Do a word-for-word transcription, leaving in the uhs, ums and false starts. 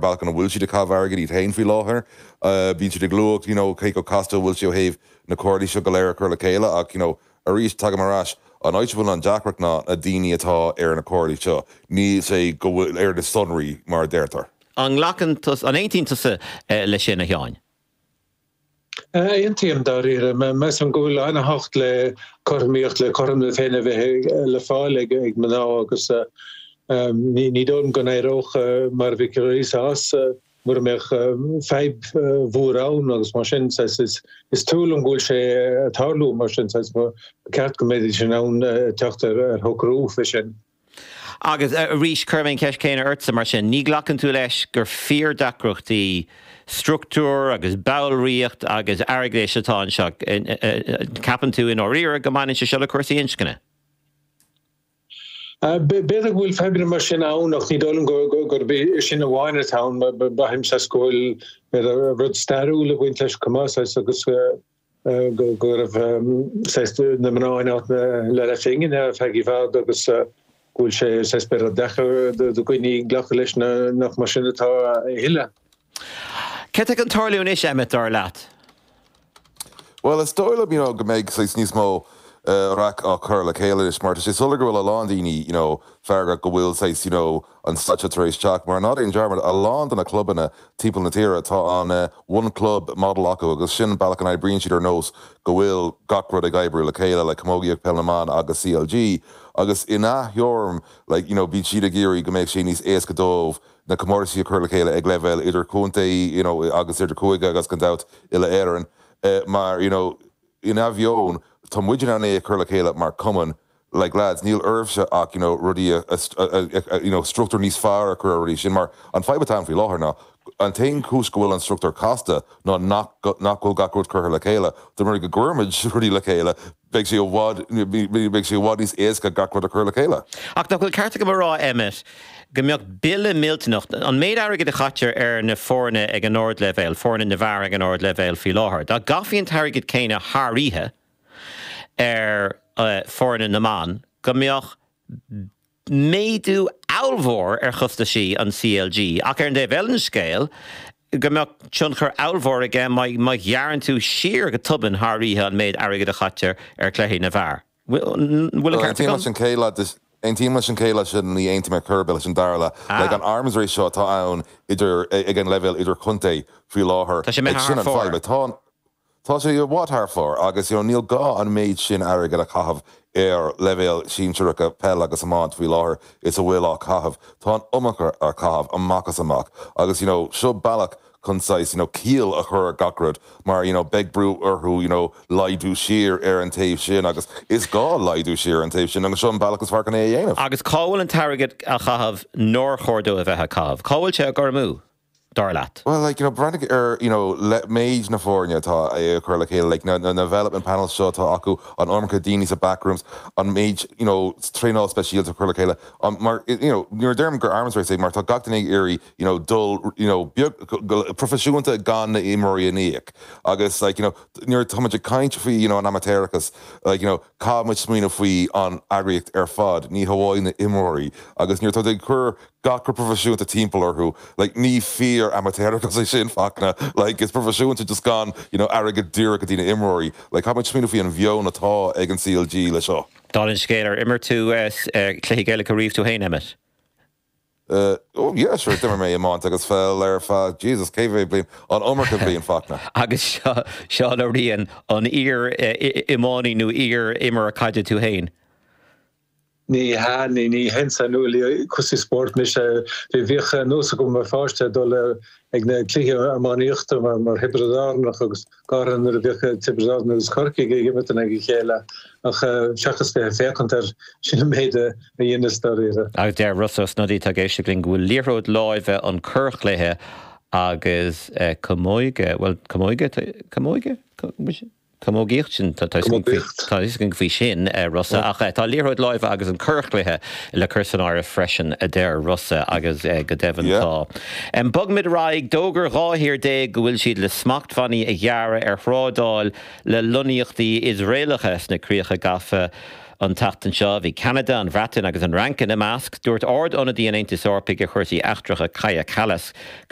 bealach an bhfuil siad ag caitheamh airgid iad féin faoi láthair. Bíonn siad ag lua you know cé chomh casta bhfuil sé ó thaobh na comhairlí seo go léir a chur le chéile ach you know arís tagaim ar ais an áit a bhfuil an deacracht ná na daoine atá ar na comhairlí seo níl sé go bhfuil ar na sonraí mar a deirtear. An nglacann tusa, an aontaíonn tusa leis sin a Sheáin? Aontaím dáiríre. Measaim go bhfuil an-tábhacht le cothromaíocht, le cothrom na Féinne a bheith le fáil ag mná agus ní dóigh liom go n-éireodh mar a bhí Clarissa as mura mbeadh fadhb mhór ann agus mar sin is trua liom go bhfuil sé ag tarlú mar sin ba cheart go mbeidís in ann teacht ar shocrú faoi sin. Agus arís, cuirfidh mé an cheist chéanna ortsa mar sin, ní ghlacann tú leis gur fíordheacrachtaí struchtúir agus ballraíocht agus airgeadais atá anseo? Ceapann tú i ndáiríre go mbaineann sé seo le cúrsaí inscne? B'fhéidir go bhfuil fadhbanna mar sin ann ach ní dóigh liom gurb é sin amháin atá ann. Braithim saghas go bhfuil b'fhéidir rud stairiúil ag baint leis chomh maith saghas agus go raibh saghas na mná in áit na leathphingine ar feadh i bhfad agus go bhfuil sé saghas b'fhéidir deacair do dhaoine glacadh leis nach mar sin atá a thuilleadh. Céard atá chun tarlú anois, Emmet, dar leat? Bhuel, is dóigh liom you know go mbeidh saghas níos mó raic á chur le chéile anois mar tá sé soiléir go bhfuil a lán daoine you know feargach go bhfuil saghas you know an staid seo tar éis teacht mar ná déan dearmad a lán de na clubanna timpeall na tíre tá an one club model acu agus sin an bealach a n-oibríonn siad ar nós go bhfuil gach rud ag oibriú le chéile like camógaíocht, peil na mban agus C L G agus ina thuairim like you know bíonn siad ag iarraidh go mbeadh sé níos éasca dóibh na comórtaisí a chur le chéile ag leibhéal idir chontae you know agus idir chúige agus gan dabht uile Éireann uh, mar you know ina bheon tá muid in ann é a chur le chéile mar cumann like lads níl oraibhse ach you know rudaí a you know struchtúr níos fearr a chur ar rudaí sin mar an fadhb atá faoi láthair ná an t-aon chúis go bhfuil an struchtúr casta ná nach nach bhfuil gach rud curtha le chéile de mar go gcuirimid rudaí le chéile beidh sé i bhfad beidh sé i bhfad níos éasca gach rud a chur le chéile. Ach nach bhfuil ceart agam a rá, Emmet, go mbeadh bille millteanach an méid airgid a chaitear ar na foirne ag an ardleibhéal, foirne na bhfear ag an ardleibhéal faoi láthair. Dá gcaithfí an t-airgead céanna thar oíche ar uh, foirne na mban, go mbeadh méadú ollmhór ar chostaisí an C L G ach ar an dtaobh eile den scéal go mbeadh tionchar ollmhór aige má ghearrann tú siar go tobann thar oíche an méid airgid a chaitear ar chluichí na bhfear. Bhfuil an ceart Aontaím leis an chéad leath sin, ní aontaím ar chor ar bith leis an dara leath. Like an arms race seo atá ann idir ag an leibhéal idir chontae faoi láthair. Tá sé imithe sin thar an fóir. fadhb. Tá Tá sé i bhfad thar fóir agus you know, níl gá an méid sin airgid a chaitheamh ar leibhéal sinsearacha peil agus iomáint faoi láthair is a bhfuil á chaitheamh. Tá an iomarca á chaitheamh amach as amach agus you know, seo bealach chun saghas you know, ciall a chur ar gach rud mar you know, beidh brú orthu you know, laghdú siar ar an taobh sin agus is gá laghdú siar an taobh sin agus seo an bealach is fearr chun é a dhéanamh. Agus cá bhfuil an t-airgead á chaitheamh nár chóir dó a bheith á chaitheamh? Cá bhfuil sé ag dul amú, dar leat? Well, like, you know, breathnaigh ar you know, le méid na foirne atá é chur le chéile, like, na, na, na development panels seo atá acu an iomarca daoine sa backrooms, an méid you know, traenáil speisialta chur le chéile. Um, mar you know, nuair a deirim gur arms race é mar tá gach duine ag iarraidh you know, dul you know, beag, proifisiúnta gan na himreoirí a íoc. Agus like, you know, nuair táimid ag caint faoi you know, an amaitéarachas, like, you know, caithfimid smaoineamh faoi an eagraíocht ar fad, ní hamháin na himreoirí, agus nuair tá ag cur gach proifisiúnta timpeall orthu, like, ní fíor amaitéarachas é sin Fachtna, like, is proifisiúnta just gan you know, airgead díreach go dtí na himreoirí, like, caithfimid smaoineamh faoi an mheon atá ag an C L G le seo. Dála an scéil, ar imir tú cluichí Gaelacha riamh tú féin, Emmet? Uh, oh yeah, sure, d'imir mé iomáint agus peil ar feadh Jesus cé mhéad bliain an iomarca bliain, Fachtna. Agus Seán Ó Riain, an iar-iománaí nó iar-imreoir caide tú féin? Ní hea, ní ní haon saineolaí cúrsaí spóirt mise. Bhí bhíodh nós agam mar pháiste dul ag na cluichí iománaíochta mar mar Thiobraid Árannach agus gar nuair a bhíodh Tiobraid Árann agus Corcaigh ag imirt in aghaidh a chéile ach seachas bheith ag féachaint air sin an méid a dheineas dáiríre. Agus deir Rossa Snodaí tá ag éisteacht linn go bhfuil liathróid láimhe an corrchluiche agus camóige, well camóige camóige? Camógaíocht sin tá faoi sin Rossa ach tá liathróid láimhe agus an corrchluiche le cur san áireamh freisin, a deir Rossa, agus go deimhin tá. Bogfaimid ar aghaidh. D'fhógair dhá thír déag go bhfuil siad le smachtbhannaí a ghearradh ar thrádáil le lonnaíochtaí Iosraelacha sna críocha gafa. an tseachtain seo bhí Canada an Bhreatain agus an Fhrainc ina measc, dúirt Ard-Ionadaí an Aontais Eorpaigh ar chúrsaí eachtracha Kaja Kallas go